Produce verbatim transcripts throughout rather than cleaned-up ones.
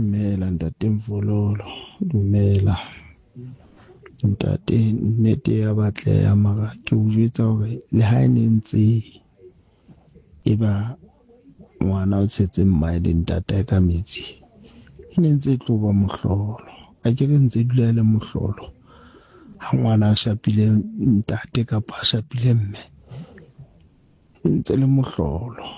Dumela ntate Mvololo, dumela ntate. Nnete ya batleha mara ke o jwetsa hore le ha e ne ntse e ba ngwana o tshetse mmae le ntatae ka metsi, e ne ntse e tlo ba mohlolo. Akere ntse e dula e le mohlolo ha ngwana a shapile ntate kapa a shapile mme, e ntse le mohlolo.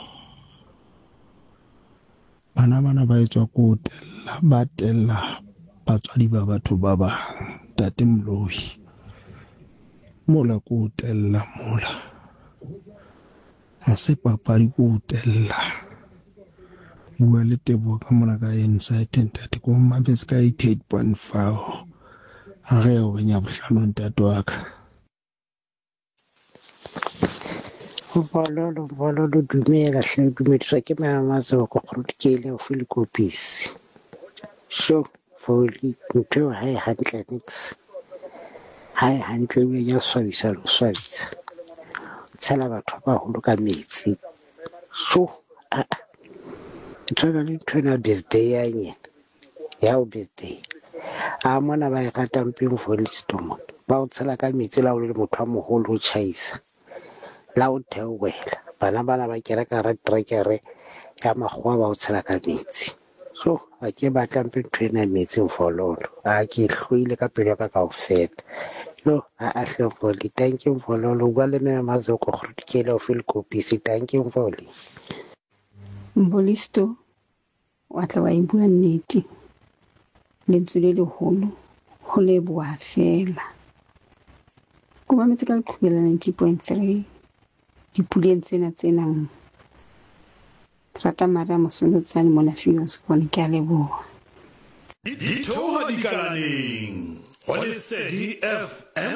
Bana bana ba etswa ko ho tella, ba tella batswadi ba batho ba bang. Ntate Moloi, mola ko ho tella mola, ha se papadi ko ho tella. Bua le Teboho ka mona ka Insight ntate, ko mametse ka eighty eight point five. Ha re ya horeng ya bohlano ntate wa ka. Mvololo, Mvololo, dumela hle, dumediswa ke Mama Kgolokele haufi le Kopisi. Sho, Voli, ntho eo ha e hantle niks. Ha e hantle ebile ya swabisa le ho swabisa. Tshela batho ba baholo ka metsi. Sho, aa. E tshwana le ntho ena birthday ya nyena. Ya ho birthday. A mona ba e ratang peng Volisto mona. Ba o tshela ka metsi le ha o le motho a moholo o tjhaisa. La o theohela. Bana bana ba kena ka hara trekere ya makgowa ba o tshela ka metsi. So, ha ke batla mpe ntho ena ya metsi Mvololo. A ke e hloile ka pelo ya ka kaofela. Yo, aa hle Mvoli, thank you Mvololo. O bua le Mme Mazoko Kgolokele haufi le Kopisi. Thank you Mvoli. Mbolisto wa tla wa e bua nnete, lentswe le leholo ho leboha feela. Ko mametse ka leqhubu la ninety point three dipuleng tsena tse nang. Rata Maria Mosonotsane mona Viljoenskroon, ke a leboha. Di theoha dikalaneng ho Lesedi F M.